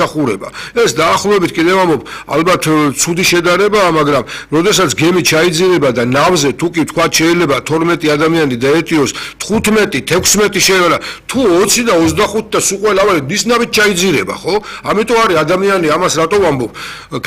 სახურება. ეს დაახლოებით კიდევ ამობ ალბათ ცუდი შედარებაა, მაგრამ როდესაც გემი ჩაიძირება და ნავზე თუ კი თქვა შეიძლება 12 ადამიანი დაეტიოს 15, 16 შეიძლება თუ 20 და 25 და სულ ყველავე ნისნავით ჩაიძირება, ხო? ამიტომ არის ადამიანი ამას რატო ვამბობ?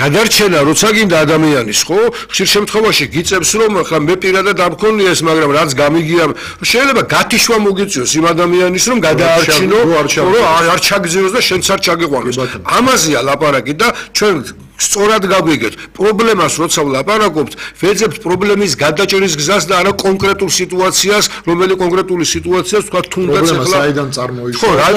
გადარჩენა როცა გინდა ადამიანის, ხო? ხშირ შემთხვევაში გიწევს რომ ხა მე პირადად არ მქონია ეს, მაგრამ რაც გამიგია შეიძლება გათიშვა მოგიწიოს იმ ადამიანის რომ გადაარჩინო, რომ არ ჩაგზიოს და შენც არ ჩაგიყვანოს. ამაზეა ლაპარაკი და ჩვენ სწორად გაგვიგეთ პრობლემას როცა ვლაპარაკობთ ვეძებთ პრობლემის გადაჭერის გზას და არა კონკრეტულ სიტუაციას რომელი კონკრეტული სიტუაციას თქვა თუნდაც ახლა საიდან წარმოიშვა ხო რა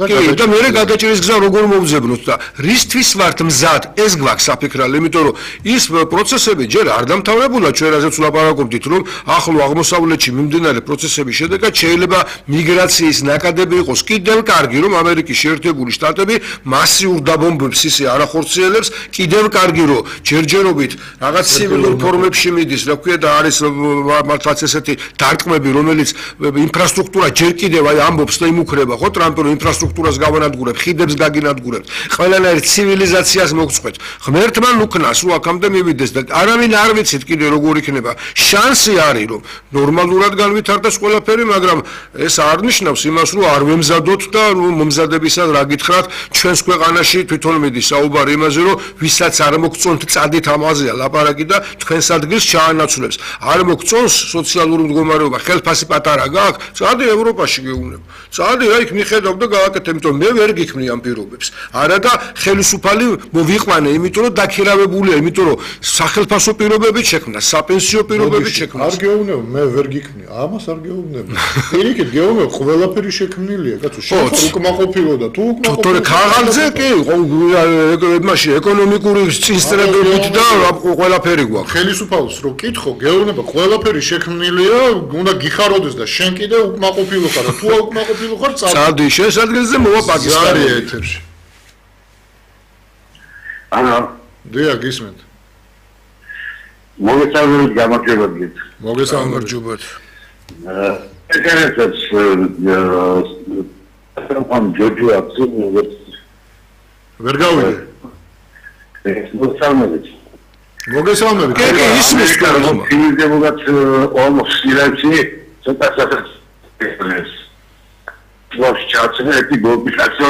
კი და მე გადაჭერის გზა როგორ მოვძებნოთ და რისთვის ვართ მზად ეს გვაქვს საფიქრალე იმიტომ რომ ის პროცესები ჯერ არ დამთავრებულა ჩვენ რაზეც ვლაპარაკობდით რომ ახლო აღმოსავლეთში მიმდინარე პროცესების შედეგად შეიძლება მიგრაციის ნაკადები იყოს კიდევ კარგი რომ ამერიკის შეერთებული შტატები მასიურ დაბომბებს ისე არ ახორციელებს კიდევ კარგი რომ ჯერჯერობით რაღაც ცივილურ ფორმებში მიდის, რა ქვია და არის მართლაც ესეთი დარტყმები, რომელიც ინფრასტრუქტურა ჯერ კიდევ აი ამბობს და იმუქრება, ხო, ტრამპი რომ ინფრასტრუქტურას გავანადგურებ, ხიდებს გაგინადგურებ, ყველანაირ ცივილიზაციას მოგწყვეთ. ღმერთმან უკნას რომ აქამდე მივიდეს და არავინ არ ვიცით კიდე როგორ იქნება. შანსი არის რომ ნორმალურად განვითარდეს ყველაფერი, მაგრამ ეს არ ნიშნავს იმას რომ არ ვემზადოთ და მომზადებისას რა გითხრათ, ჩვენს ქვეყანაში თვითონ მიდის საუბარი იმაზე რომ ვისაც არ მოგწონთ წადით ამაზეა ლაპარაკი და თქვენს ადგილს ჩაანაცვლებს. არ მოგწონს სოციალური მდგომარეობა, ხელფასი პატარა გაქვს, წადი ევროპაში გეუბნებ. წადი რა იქ მიხედავ და გააკეთე, იმიტომ მე ვერ გიქმნი ამ პირობებს. არა და ხელისუფალი მოვიყვანე, იმიტომ რომ დაქირავებულია, იმიტომ რომ სახელფასო პირობებით შექმნა, საპენსიო პირობებით შექმნა. არ გეუბნებ, მე ვერ გიქმნი. ამას არ გეუბნებ. პირიქით გეუბნებ, ყველაფერი შექმნილია, კაცო, შენ უკმაყოფილო და თუ უკმაყოფილო. ქაღალდზე კი, მაშინ ეკონომიკური წინსწრებებით და ყველაფერი გვაქვს. ხელისუფალს რო კითხო, გეუბნება, ყველაფერი შექმნილია, უნდა გიხაროდეს და შენ კიდე უკმაყოფილო ხარ, თუ უკმაყოფილო ხარ, წადი შენს ადგილზე მოვა პაკისტანი ეთერში. ანა, დიახ, გისმენთ. მოგესალმებით, გამარჯობებით. მოგესალმებით. ეგრეთაც ამ ჯოჯოა ვერ გავიგე. მოგესალმებით. მოგესალმებით. კი, ისმის კარგო. ფილმდებოდათ ომოსილაცი, ცოტა საერთოდ ვაშ ჩაწერეთი გოპიკაციო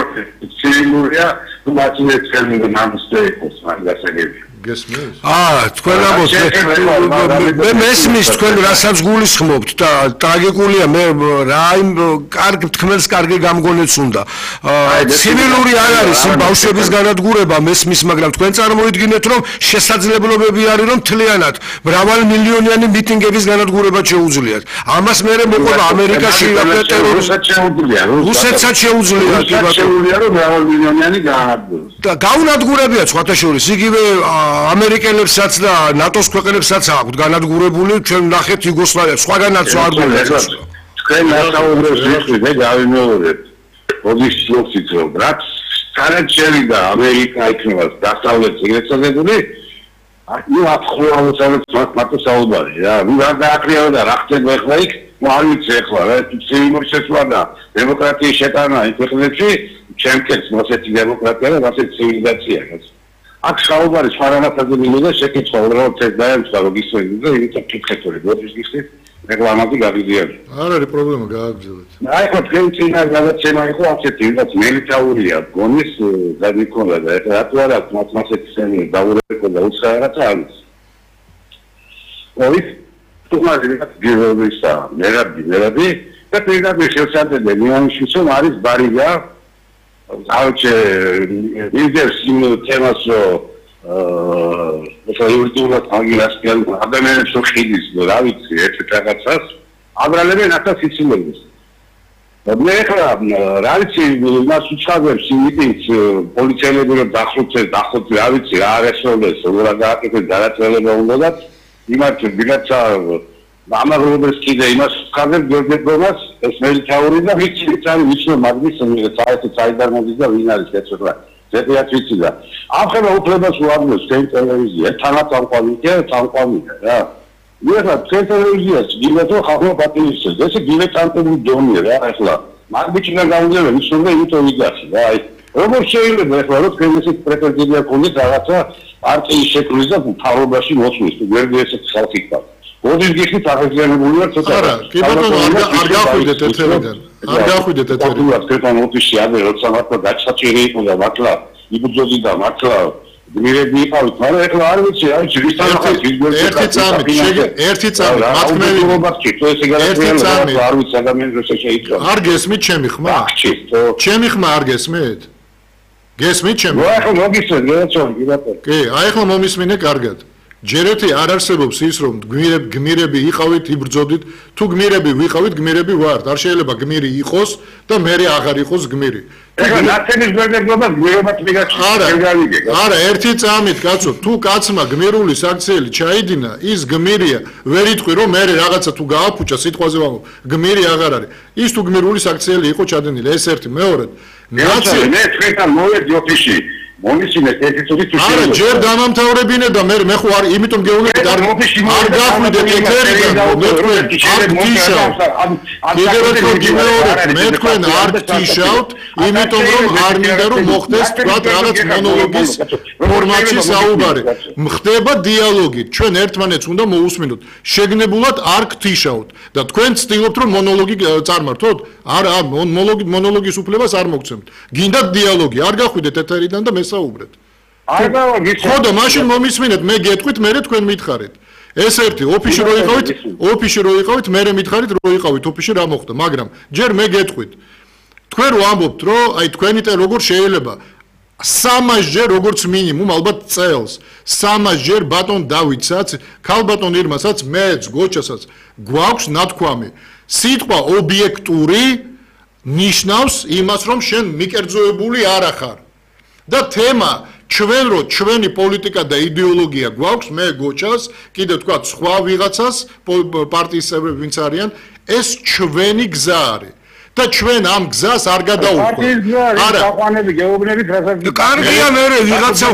ცილურია, თუ მაშინაც ხელმიგე ნამსტე იყოს, მაგასაგები. გესმის? თქვენ ამბობთ, მე მესმის თქვენ რასაც გულისხმობთ და ტრაგიკულია მე რა იმ კარგი თქმელს კარგი გამგონეც უნდა. ცივილური არ არის იმ ბავშვების განადგურება მესმის, მაგრამ თქვენ წარმოიდგინეთ რომ შესაძლებლობები არის რომ თლიანად მრავალმილიონიანი მიტინგების განადგურება შეუძლიათ. ამას მე მოყვება ამერიკაში რუსეთსაც შეუძლია რომ მრავალმილიონიანი განადგურდეს. და გაუნადგურებია სხვათა შორის იგივე ამერიკელებსაც და ნატოს ქვეყნებსაც აქვთ განადგურებული ჩვენ ნახეთ იუგოსლავიას სხვაგანაც არ გვეცეს თქვენ მასაუბრებს ვიხდით და გავიმეორებთ როდის შევცით რომ რაც სანაჩელი და ამერიკა იქნება დასავლეთ ეგრეთსადებული ნუ აფხუალოცავებს მარტო საუბარი რა ვინ არ დააკრიალა და რა ხდება ახლა იქ ნუ არ ვიცი ახლა რა ცივილური შეცვლა და დემოკრატიის შეტანა იმ ქვეყნებში ჩემკეთს მოსეთი დემოკრატია და მასეთი ცივილიზაცია გასა აქ საუბარი სხვადასხვა მილიონზე შეკითხვა უბრალოდ ეს დაემთხვა რომ ისვენდი და იმიტომ კითხეთური როდის გიხდით რეკლამები გავიდიან არ არის პრობლემა გააგრძელეთ აი ხო თქვენ წინა გადაცემა იყო ასეთი ვიღაც მელიტაურია გონის გადმიქონდა და ეს რატო არა მასეთი სენი დაურეკო და უცხაერაც არის ოი თუმცა ვიღაც გეოლოგისა მერაბი და პირდაპირ შევსადე მიანიშის რომ არის ბარიგა Auce invers în tema să iurdiulat angilaskian adamene što hidis doravici etc. Abraleme nata sicilebis. Nehra ravici nas uçavers imitis polițielები რომ დახოცე ravici რა არესოდეს რა გააკეთეს გადაწყვეტილება უნდათ იმათ ვიღაცა ამაღლობებს კიდე იმას ხაზერ გერგებობას ეს მელიტაური და ვიცი არის ვიცი მაგის საერთოდ მოდის და ვინ არის ეცოლა ზედიაც ვიცი და ახლა უფლებას უამბობს ტელევიზია თანაც ამყვანია რა ეხლა ტელევიზიას გილეთო ხალხო პატივისცემს ესე გილეთანტები დონია რა ახლა მაგბიჩიდან გამოდევენ ისე იმიტომ ვიგაში რა აი როგორც შეიძლება ახლა რომ თქვენ ესეთ პრეტენზია გქონდეთ რაღაცა პარტიის შექმნის და მთავრობაში მოსვლის, თუ გვერდი ესეთ ხალხი გქონდეთ. ოდის გიხდით აღიზიანებული ვარ ცოტა. არა, კი ბატონო, არ გახვიდეთ ეთერიდან. არ გახვიდეთ ეთერიდან. თქვენ ოფისში ადრე როცა მართლა გაჩაჭირი იყო და მართლა იბრძოდი და მართლა გმირები იყავით, მაგრამ ახლა არ ვიცი, აი ჯვისთან ახალ ერთი წამით, მათქმევით. არ ვიცი ადამიანს როცა შეიწყო. არ გესმით ჩემი ხმა? ჩემი ხმა არ გესმით? გესმით ჩემი? ახლა მოგისმენთ, გადაცვალე, კი ბატონო. კი, აი ახლა მომისმინე კარგად. ჯერეთი არ არსებობს ის რომ გმირები იყავით, იბრძოდით, თუ გმირები ვიყავით, გმირები ვართ. არ შეიძლება გმირი იყოს და მე აღარ იყოს გმირი. ეხლა ნაცების გვერდებლობა გმირობაც მიგაჩნია. არა, ერთი წამით, კაცო, თუ კაცმა გმირული საქციელი ჩაიდინა, ის გმირია. ვერ იტყვი რომ მე რაღაცა თუ გააფუჭა სიტყვაზე ვამბობ, გმირი აღარ არის. ის თუ გმირული საქციელი იყო ჩადენილი, ეს ერთი, მეორედ. მე თქვენთან მოვედი ოფისში. მომისინეთ ერთი წუთი თუ არა, ჯერ დამამთავრებინე და მე ხო არ, იმიტომ გეუბნებით არ გახვიდეთ ეთერიდან, მე თქვენ არ გთიშავთ. კიდევ ერთხელ გიმეორებ, მე თქვენ არ გთიშავთ, იმიტომ რომ არ მინდა რომ მოხდეს თქვა რაღაც მონოლოგის ფორმატში საუბარი. ხდება დიალოგი, ჩვენ ერთმანეთს უნდა მოусმინოთ. შეგნებულად არ გთიშავთ და თქვენ ცდილობთ რომ მონოლოგი წარმართოთ? არა, მონოლოგის უფლებას არ მოგცემთ. გინდათ დიალოგი, არ გახვიდეთ ეთერიდან და საუბრეთ. არ გავაგიცე. ხო და მაშინ მომისმინეთ, მე გეტყვით, მე თქვენ მითხარით. ეს ერთი ოფისში რო იყავით, მე მითხარით რო იყავით ოფისში რა მოხდა, მაგრამ ჯერ მე გეტყვით. თქვენ რო ამბობთ, რომ აი თქვენით როგორ შეიძლება 300 ჯერ როგორც მინიმუმ ალბათ წელს 300 ჯერ ბატონ დავითსაც, ქალბატონ ირმასაც, მეც, გოჩასაც გვაქვს ნათქვამი. სიტყვა ობიექტური ნიშნავს იმას, რომ შენ მიკერძოებული არ ახარ. და თემა ჩვენ რო ჩვენი პოლიტიკა და იდეოლოგია გვაქვს, მე გოჩას, კიდევ თქვა სხვა ვიღაცას პარტიის წევრები ვინც არიან, ეს ჩვენი გზა არის. და ჩვენ ამ გზას არ გადაუხვევთ. არა, საყვანები გეუბნებით რასაც კარგია მე ვიღაცა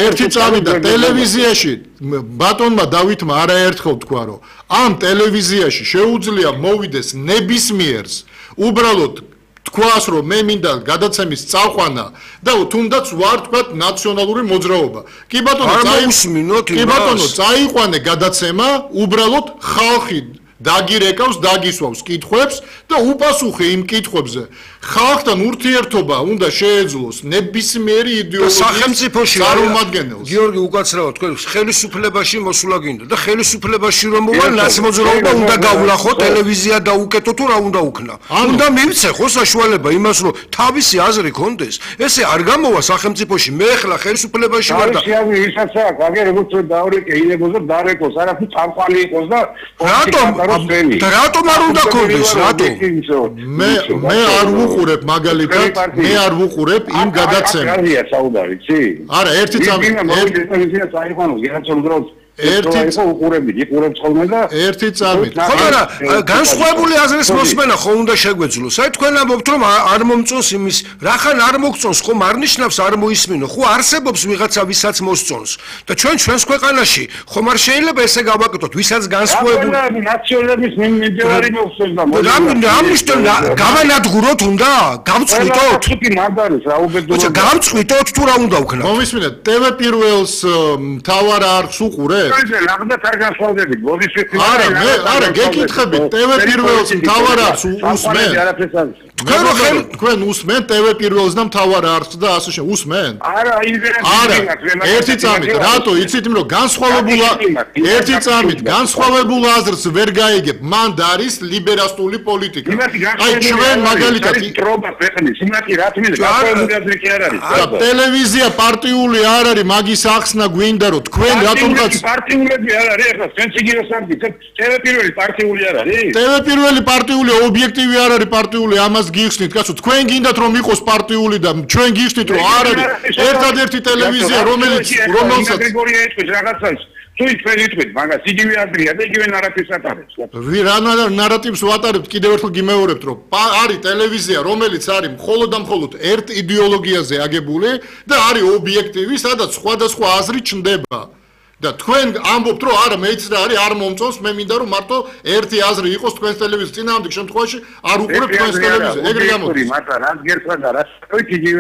ერთი წამით და ტელევიზიაში ბატონმა დავითმა არაერთხელ თქვა რომ ამ ტელევიზიაში შეუძლია მოვიდეს ნებისმიერს უბრალოდ თქვას რომ მე მინდა გადაცემის წაყვანა და თუნდაც ვარ თქვა ნაციონალური მოძრაობა. კი ბატონო, წაიყვანე გადაცემა, უბრალოდ ხალხი დაგირეკავს, დაგისვავს კითხვებს და უპასუხე იმ კითხვებზე. ხალხთან ურთიერთობა უნდა შეეძლოს ნებისმიერი იდეოლოგიის სახელმწიფოში წარმომადგენელს. გიორგი უკაცრავად თქვენ ხელისუფლებაში მოსულა გინდა და ხელისუფლებაში რომ მოვა ნაცმოძრაობა უნდა გავლახო, ტელევიზია დაუკეტო თუ რა უნდა უქნა. უნდა მივცე ხო საშუალება იმას რომ თავისი აზრი კონდეს. ესე არ გამოვა სახელმწიფოში. მე ახლა ხელისუფლებაში ვარ და ისაც აქვს, აგერ როგორც დავრეკე ილებოს და დარეკოს, არაფერი წამყვანი იყოს და რატომ არ უნდა კონდეს? რატომ? მე არ ვუყურებ მაგალითად, მე არ ვუყურებ იმ გადაცემას. კარგია საუბარი, იცი? არა, ერთი წამი. ერთი წამით. ხო, მაგრამ განსხვავებული აზრის მოსმენა ხო უნდა შეგვეძლოს. აი თქვენ ამბობთ რომ არ მომწონს იმის, რახან არ მოგწონს, ხომ არ ნიშნავს არ მოისმინო. ხო არსებობს ვიღაცა ვისაც მოსწონს. და ჩვენს ქვეყანაში ხომ არ შეიძლება ესე გავაკეთოთ, ვისაც განსხვავებული ნაციონალიზმის მიმდევარი მოხსენს და ამნიშნო გავანადგუროთ უნდა? გავწყვიტოთ? გავწყვიტოთ თუ რა უნდა ვქნათ? მომისმინეთ, TV პირველს მთავარ არხს უყურე? არა, გეკითხებით, TV პირველს მთავარ არხს უსმენ? თქვენ უსმენ TV პირველს და მთავარ არხს და ასე შემდეგ უსმენ? არა, ერთი წამით, რატო იცით რომ ერთი წამით განსხვავებულ აზრს ვერ გაიგებ, მან არის ლიბერალური პოლიტიკა. აი ჩვენ მაგალითად ტელევიზია პარტიული არ არის, მაგის ახსნა გვინდა რომ თქვენ რატომღაც პარტიულები არ არის, ახლა სენსიგიოს ამბით, TV პირველი პარტიული არ არის? TV პირველი პარტიული ობიექტივი არ არის პარტიული, ამას გიხსნით, კაცო, თქვენ გინდათ რომ იყოს პარტიული და ჩვენ გიხსნით რომ არ არის. ერთადერთი ტელევიზია რომელსაც გრიგორია ეთქვის რაღაცას თუ თქვენ ითქვით, მაგას იგივე აზრია და იგივე ნარატივს ატარებს. რა ნარატივს ვატარებთ, კიდევ ერთხელ გიმეორებთ, რომ არის ტელევიზია, რომელიც არის მხოლოდ და მხოლოდ ერთ იდეოლოგიაზე აგებული და არის ობიექტივი, სადაც სხვადასხვა აზრი ჩნდება. და თქვენ ამბობთ რომ არა მეც რა არის არ მომწონს მე მინდა რომ მარტო ერთი აზრი იყოს თქვენს ტელევიზიის წინააღმდეგ შემთხვევაში არ უყურებ თქვენს ტელევიზიას ეგრე გამოდის მაგრამ რაც გერწვა და რაც თქვით იგივე